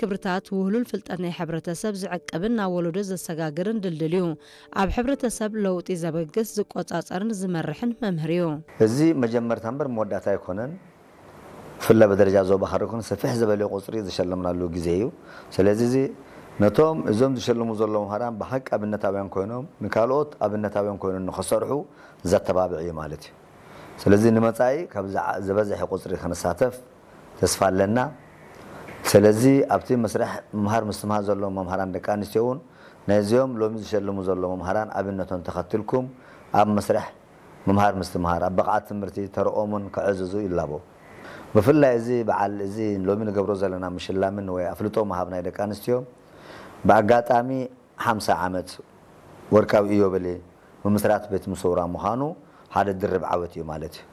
ክብርታት ውህሉል ፍልጠት ናይ ሕብረተሰብ ዝዕቅብን ናብ ወለዶ ዘሰጋግርን ድልድል እዩ። ኣብ ሕብረተሰብ ለውጢ ዘበግስ፣ ዝቆጻጸርን ዝመርሕን መምህር እዩ። እዚ መጀመርታ እምበር መወዳእታ ኣይኮነን። ብፍላይ ብደረጃ ዞባ ሃረር ኮይኑ ሰፍሕ ዝበለ ቁፅሪ ዝሸለምናሉ ግዜ እዩ። ስለዚ እዚ ነቶም እዞም ዝሸልሙ ዘለዉ መምህራን ብሓቂ ኣብነታውያን ኮይኖም ንካልኦት ኣብነታውያን ኮይኖም ንኸሰርሑ ዘተባብዕ እዩ ማለት እዩ። ስለዚ ንመፃኢ ካብ ዝዓ- ዝበዝሐ ቁፅሪ ክንሳተፍ ተስፋ ኣለና። ስለዚ ኣብቲ መስርሕ ምምሃር ምስትምሃር ዘለዎም መምሃራን ደቂ ኣንስትዮ እውን ነዚኦም ሎሚ ዝሸልሙ ዘለዉ መምሃራን ኣብነቶም ተኸትልኩም ኣብ መስርሕ ምምሃር ምስትምሃር ኣብ ብቕዓት ትምህርቲ ተረኦምን ከዕዝዙ ይላቦ። ብፍላይ እዚ በዓል እዚ ሎሚ ንገብሮ ዘለና ምሽላምን ወይ ኣፍልጦ ምሃብ ናይ ደቂ ኣንስትዮ ብኣጋጣሚ ሓምሳ ዓመት ወርቃዊ ኢዮቤልየ ምምስራት ቤት ምሰውራ ምዃኑ ሓደ ድርብ ዓወት እዩ ማለት እዩ።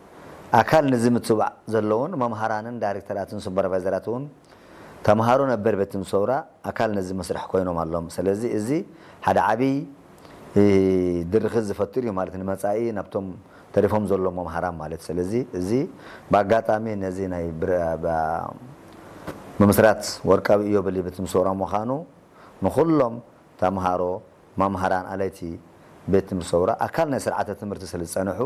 ኣካል ነዚ ምትብባዕ ዘለውን መምሃራንን ዳይሬክተራትን ሱፐርቫይዘራት እውን ተምሃሮ ነበር ቤት ምሰውራ ኣካል ነዚ መስርሕ ኮይኖም ኣለዎም። ስለዚ እዚ ሓደ ዓብይ ድርኺት ዝፈጥር እዩ ማለት ንመፃኢ ናብቶም ተሪፎም ዘለዉ መምሃራን ማለት። ስለዚ እዚ ብኣጋጣሚ ነዚ ናይ ምምስራት ወርቃዊ ኢዮቤልየ ቤት ምሰውራ ምዃኑ ንኹሎም ተምሃሮ፣ መምሃራን፣ ኣለይቲ ቤት ትምህርቲ ሰውራ ኣካል ናይ ስርዓተ ትምህርቲ ስለ ዝፀንሑ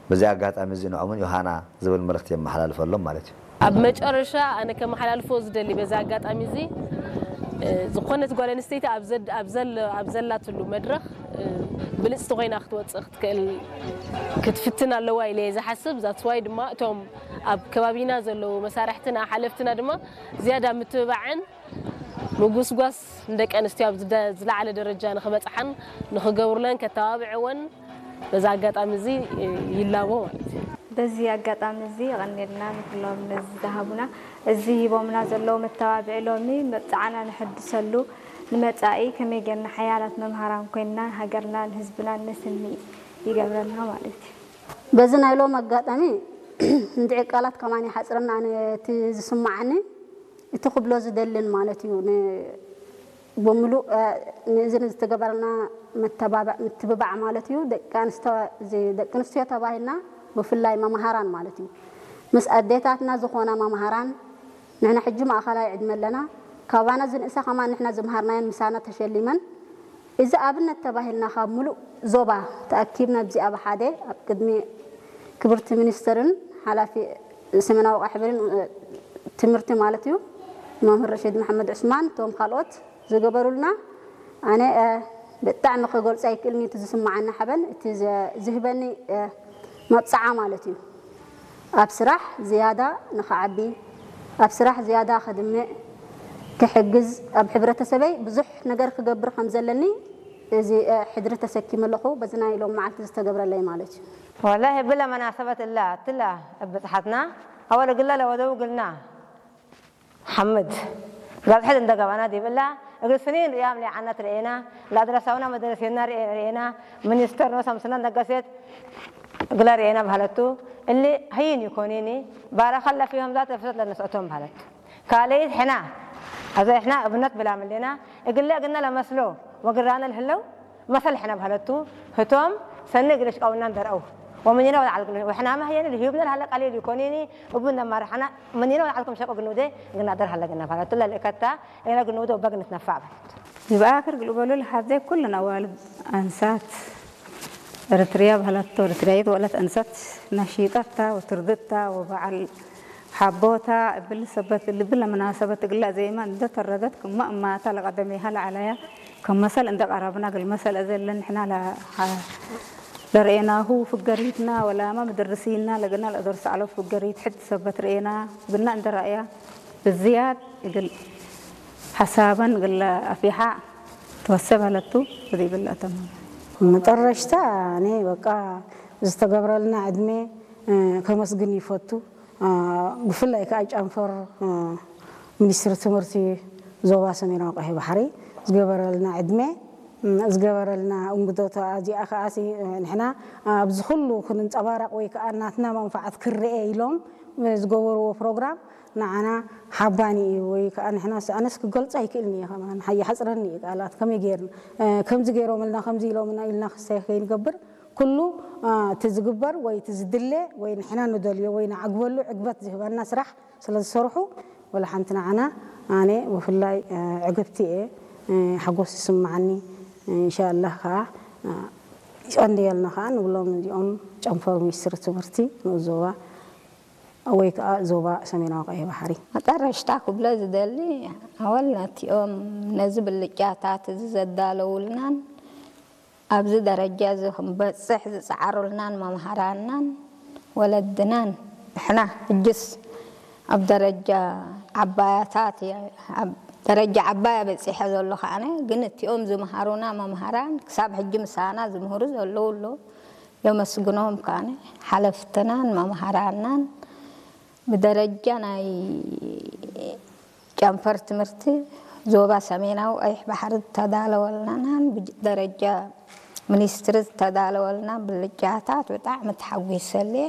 በዚ ኣጋጣሚ እዚ ንዖምን ዮሃና ዝብል መልእኽቲ የመሓላልፈሎም ማለት እዩ። ኣብ መጨረሻ ኣነ ከመሓላልፎ ዝደሊ በዚ ኣጋጣሚ እዚ ዝኾነት ጓል ኣንስተይቲ ኣብ ዘላትሉ መድረኽ ብልፅቲ ኮይና ክትወፅእ ክትክእል ክትፍትን ኣለዋ ኢለ እየ ዝሓስብ። ዛትስዋይ ድማ እቶም ኣብ ከባቢና ዘለዉ መሳርሕትና ሓለፍትና ድማ ዝያዳ ምትብባዕን ምጉስጓስ ንደቂ ኣንስትዮ ኣብ ዝለዓለ ደረጃ ንኽበፅሓን ንኽገብሩለን ከተባብዕወን በዚ ኣጋጣሚ እዚ ይላቦ ማለት እዩ። በዚ ኣጋጣሚ እዚ የቐንየልና ንኩሎም ነዚ ዝሃቡና። እዚ ሂቦምና ዘለዉ መተባብዒ ሎሚ መብፅዓና ነሐድሰሉ ንመፃኢ ከመይ ጌርና ሓያላት መምሃራን ኮይንና ንሃገርናን ህዝብናን ነስኒ ይገብረና ማለት እዩ። በዚ ናይ ሎም ኣጋጣሚ እንድዒ ቃላት ከማን ይሓፅረና ኣነ እቲ ዝስማዓኒ እቲ ክብሎ ዝደልን ማለት እዩ ን- ብምሉእ ንእዚ ንዝተገበረልና መተባብዕ ምትብባዕ ማለት እዩ ደቂ ኣንስተ- እዚ ደቂ ኣንስትዮ ተባሂልና ብፍላይ መምሃራን ማለት እዩ ምስ ኣዴታትና ዝኾና መምሃራን ንሕና ሕጂ ማእኸላይ ዕድመ ኣለና ካባና ዝንእሳ ከማን ንሕና ዝምሃርናየን ምሳና ተሸሊመን እዚ ኣብነት ተባሂልና ካብ ሙሉእ ዞባ ተኣኪብና ኣብዚኣ ብሓደ ኣብ ቅድሚ ክብርቲ ሚኒስትርን ሓላፊ ሰሜናዊ ቀሕብርን ትምህርቲ ማለት እዩ መምህር ረሽድ መሓመድ ዑስማን እቶም ካልኦት ዝገበሩልና ኣነ ብጣዕሚ ክገልፆ ኣይክእልን እቲ ዝስማዓኒ ሓበን እቲ ዝህበኒ መብፅዓ ማለት እዩ ኣብ ስራሕ ዝያዳ ንኽዓቢ ኣብ ስራሕ ዝያዳ ከድምዕ ክሕግዝ ኣብ ሕብረተሰበይ ብዙሕ ነገር ክገብር ከም ዘለኒ እዚ ሕድሪ ተሰኪመ ኣለኹ በዚ ናይ ሎም መዓልቲ ዝተገብረለይ ማለት እዩ። ወላሂ ብላ መናሰበት እላ ትላ እብፅሓትና ኣወል ግላ ለወደው ግልና ሓምድ ጋዝሐት እንደገባና ዲብላ እግል ስኒን ርያም ሊዓና ትርኤና ላድረሳውና መደረሴና ርኤና ሚኒስተር ኖ ሰምስና ነገሴት ግላ ርኤና ባህለቱ እሊ ሀይን ይኮኒኒ ባረኸ ለፊሆም ዛት እፍሰት ለነስኦቶም ባህለቱ ካልይት ሕና ኣዘ ሕና እብነት ብላምሌና እግለ እግና ለመስሎ ወግራነ ልህለው መሰል ሕነ ብሀለቱ ህቶም ሰኒ እግል እሽቀውና እንደርአው ወምኒነ ወለዓል እግል ወሕና መህየኒ ልህዩብነ ለሀለ ቀሊል ይኮኒኒ እቡ እንደማርሐና ምኒነ ወለዓልኩም ሸቆ ግንውደ እግና ደር ሀለ ግና ብሀለቱ ለልእከታ እግና ግንውደ ወበግ ንትነፋዕ ብሀለቱ ይብኣክር ግልበሉ ለሓዘ ኩልን ኣዋልድ ኣንሳት እርትርያ ብሀለቶ እርትርያይት ወለት ኣንሳት ነሺጠታ ወትርድታ ወበዓል ሓቦታ እብል ሰበት ልብል ለመናሰበት እግላ ዜማ እንደ ተረደት ክማ እማታ ለቀደሜሃ ለዓላያ ከም መሰል እንደ ቀረብና እግል መሰል እዘ ለንሕና ለርኤናሁ ፍገሪትና ወላማ ምድርሲና ለግና ለእደርስ አሎ ፍገሪት ሕድ ሰበት ርኤና ግና እንደ ረእያ ብዝያድ እግል ሓሳበን እግል ኣፊሓ ተወሰብ አለቱ እዚ ይብል ኣተማ መጠረሽታ እኔ በቃ ዝተገብረልና ዕድሜ ከመስግን ይፈቱ። ብፍላይ ከዓ ጨንፈር ሚኒስትሪ ትምህርቲ ዞባ ሰሜናዊ ቀይሕ ባሕሪ ዝገበረልና ዕድመ ዝገበረልና እንግዶት እዚኣ ከዓሲ ንሕና ኣብዚ ኩሉ ክንንፀባረቕ ወይ ከዓ ናትና መንፋዓት ክረአ ኢሎም ዝገበርዎ ፕሮግራም ንዓና ሓባኒ እዩ ወይ ከዓ ንሕና ኣነስ ክገልፆ ኣይክእልን እየ ከማን ይሓፅረኒ እዩ ቃላት ከመይ ገይርና ከምዚ ገይሮምልና ከምዚ ኢሎምና ኢልና ክሳይ ከይንገብር ኩሉ እቲ ዝግበር ወይ እቲ ዝድለ ወይ ንሕና ንደልዮ ወይ ንዓግበሉ ዕግበት ዝህበና ስራሕ ስለ ዝሰርሑ ወላ ሓንቲ ንዓና ኣነ ብፍላይ ዕግብቲ እየ። ሓጎስ ይስምዓኒ። እንሻላህ ከዓ ይቀንድየልና ከዓ ንብሎም እዚኦም ጨንፈር ሚኒስትሪ ትምህርቲ ንኡስ ዞባ ወይ ከዓ ዞባ ሰሜናዊ ቀይሕ ባሕሪ። መጠረሽታ ክብሎ ዝደሊ ኣወል ነቲኦም ነዚ ብልጫታት እዚ ዘዳለውልናን ኣብዚ ደረጃ እዚ ክንበፅሕ ዝፀዓሩልናን መምሃራናን ወለድናን ንሕና ሕጅስ ኣብ ደረጃ ዓባያታት ደረጃ ዓባያ በፂሐ ዘሎ ከዓነ ግን እቲኦም ዝምሃሩና መምሃራን ክሳብ ሕጂ ምሳና ዝምህሩ ዘለዉ ኣለዉ። የመስግኖም ከዓነ ሓለፍትናን መምሃራናን ብደረጃ ናይ ጨንፈር ትምህርቲ ዞባ ሰሜናዊ ቀይሕ ባሕሪ ዝተዳለወልናን ብደረጃ ሚኒስትሪ ዝተዳለወልና ብልጫታት ብጣዕሚ ተሓጒሰልየ።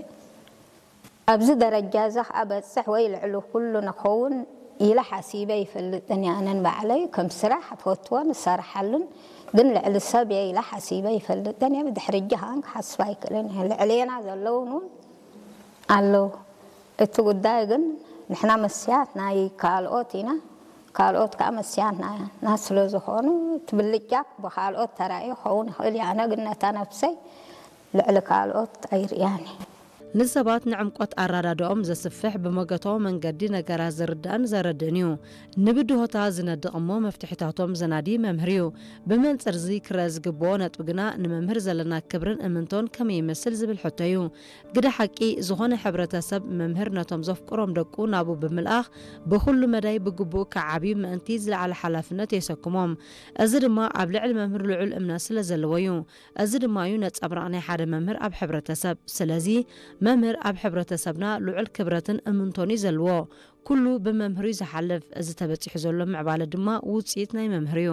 ኣብዚ ደረጃ እዚ ከዓ በፅሕ ወይ ልዕሊ ኩሉ ንኸውን ኢለ ሓሲበ ይፈልጥን እየ። ኣነን ባዕለይ ከም ስራሕ እፈትዎን እሰርሓሉን ግን ልዕሊ ሰብ እየ ኢለ ሓሲበ ይፈልጥን እየ። ብድሕሪ እጂ ከዓን ክሓስብ ኣይክእልን እየ። ልዕሌና ዘለውን እውን ኣለዉ። እቲ ጉዳይ ግን ንሕና መስያት ናይ ካልኦት ኢና፣ ካልኦት ከዓ መስያት ናና ስለ ዝኾኑ እቲ ብልጫ ብካልኦት ተራእዩ ክኸውን ይኽእል እዩ። ኣነ ግን ነታ ነብሰይ ልዕሊ ካልኦት ኣይርእያን እየ። ንሰባት ንዕምቆት ኣረዳድኦም ዘስፍሕ ብመገታዊ መንገዲ ነገራት ዝርዳእን ዘረድእን እዩ። ንብድሆታ ዝነድቕ እሞ መፍትሒታቶም ዘናዲ መምህር እዩ። ብመንፅር እዚ ክረአ ዝግብኦ ነጥቢ ግና ንመምህር ዘለና ክብርን እምንቶን ከመይ ይመስል ዝብል ሕቶ እዩ። ግደ ሓቂ ዝኾነ ሕብረተሰብ መምህር ነቶም ዘፍቅሮም ደቁ ናብኡ ብምልኣኽ ብኹሉ መዳይ ብግቡእ ክዓብዩ ምእንቲ ዝለዓለ ሓላፍነት የሰክሞም። እዚ ድማ ኣብ ልዕሊ መምህር ልዑል እምነት ስለ ዘለዎ እዩ። እዚ ድማ እዩ ነጸብራቕ ናይ ሓደ መምህር ኣብ ሕብረተሰብ። ስለዚ መምህር ኣብ ሕብረተሰብና ልዑል ክብረትን እምንቶን እዩ ዘለዎ። ኩሉ ብመምህር እዩ ዝሓልፍ። እዚ ተበጺሑ ዘሎ ምዕባለ ድማ ውጽኢት ናይ መምህር እዩ።